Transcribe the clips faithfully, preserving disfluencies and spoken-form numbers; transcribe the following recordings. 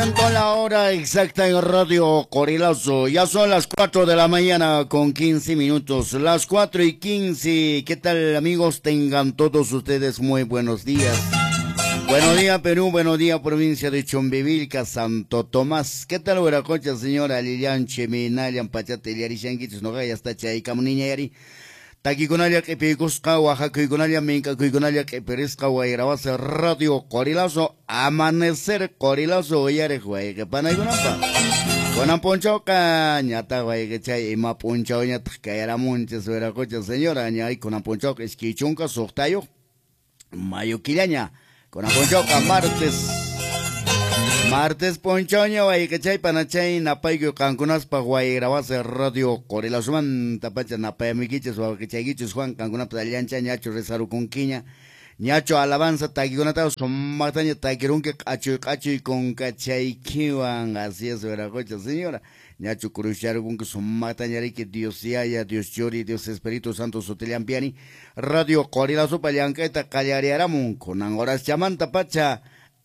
La hora exacta en Radio Qorilazo. Ya son las cuatro de la mañana con quince minutos. Las cuatro y quince. ¿Qué tal, amigos? Tengan todos ustedes muy buenos días. Buenos días, Perú. Buenos días, provincia de Chumbivilca, Santo Tomás. ¿Qué tal, Huiracocha, señora Lilian Cheminalian, Pachate, Yarishanguitos, no ya está Chaycamuniña Yari? Takikunalla q'ipiykusqa, waqakuykunalla mink'akuykunalla q'ipirisqa wayrawasi Radio Qorilazo, amanecer Qorilazo uyariq wayqipanaykunapaq. Kunan p'unchawqa ñataq wayqichay ima p'unchawñataq kayaramunchis Huiracocha señora, ñay kunan p'unchawqa iskay chunka suqtayuq mayo killaña. Kunan p'unchawqa martes. Martes p'unchawña wayqichay panachay napaykuy qankunaspaq wayrawasi Radio Qorilazomanta pacha napayamuykichis wawqichaykichis Juan qankunapas allancha ñachu rezarukunkiña ñachu alabanza takikunata sumaqtaña takirunki q'achuy q'achuy kunkachaykiwan. Así es, Huiracocha señora, ñachu kurusharukunki sumaqtaña riki Dios Yaya, Dios Churi, Dios Espíritu Santo sutillampiani Radio Qorilazopa llank'ayta qallariaramun kunan horaschamanta pacha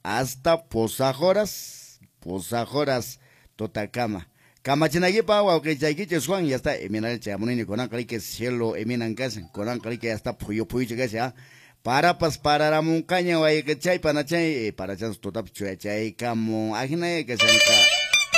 hasta pusaq horas, pusaq horas tutakama. Kamachinaykipa wawqichaykichis Juan, ya está eminal chayamunini kunanqa riki cielo eminan kashan, kunanqa riki ya está phuyu phuyucha kashan, parapas pararamunqaña wayqichay panachay, parachanpas tutapas chuyachaykamun, ajinaya kashanqa.